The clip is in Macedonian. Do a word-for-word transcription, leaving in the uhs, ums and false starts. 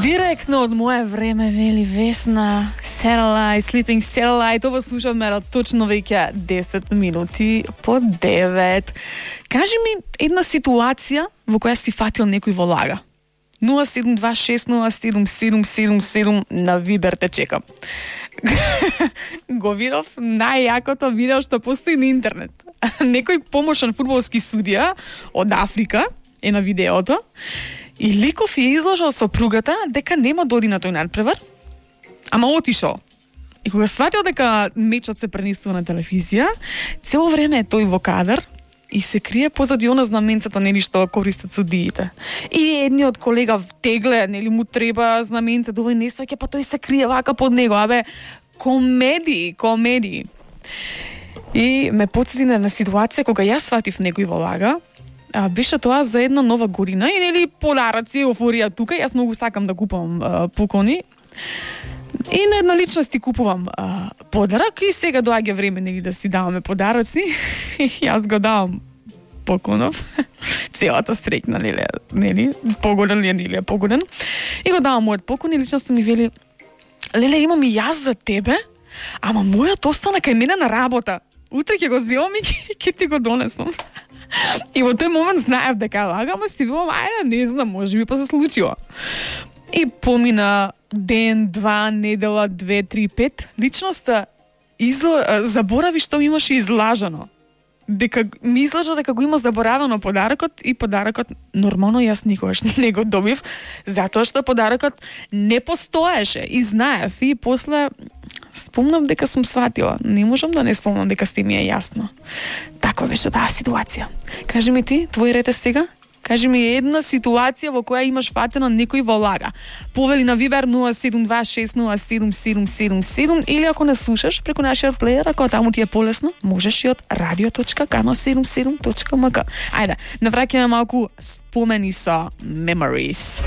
Директно од мое време, вели Весна, Satellite, Sleeping Satellite, ова слушаме точно веќе десет минути по девет. Кажи ми една ситуација во која си фатил некој во лага. нула седум два шест нула седум седум седум седум на Вибер те чекам. Го видов најјакото видео што постои на интернет. Некој помошен фудбалски судија од Африка е на видеото и ликов ја изложил сопругата дека нема да оди на тој надпревар, ама отишол. И кога сватил дека мечот се пренесува на телевизија, цело време е тој во кадар и се крие позади она знаменцето, нели, што користат судиите. И едниот колега тегле, нели, му треба знаменцето, овој не саќе, па тој се крие вака под него. Абе, комедии, комедии. И ме потсети на ситуација кога јас сватив некој во лага. А, беше тоа за една нова година и, нели, подараци, еуфорија тука. Јас многу сакам да купувам а, поклони. И на една личност ти купувам а, подарак и сега доаѓа време, нели, да си даваме подараци. И јас го давам поклонов. Целата среќна, нели, нели, погоден ли е, нели, погоден. И го давам мојот поклон и личноста ми вели: леле, имам и јас за тебе, ама мојот остана кај мене на работа. Утре ќе го земам и ќе ти го донесам. И во тој момент знаев дека лага, ама си велам, ајде, не знам, може би па се случило. И помина ден, два, недела, две, три, пет, личноста изла... заборави што ми имаше излажано. Дека ми излажа дека го има заборавено подарокот и подарокот нормално јас никогаш не го добив, затоа што подарокот не постоеше и знаев. И после спомнам дека сум сватила. Не можам да не спомнам дека се ми е јасно. Така беше таа ситуација. Кажи ми ти, твој ред е сега? Кажи ми една ситуација во која имаш фатено некој во лага. Повели на Вибер нула седум два шест нула седум седум седум седум или ако не слушаш преку нашиот плеер, ако таму ти е полесно, можеш и од радио точка кано седумдесет и седум точка ем ка. Ајде, навраќаме малку спомени со Memories.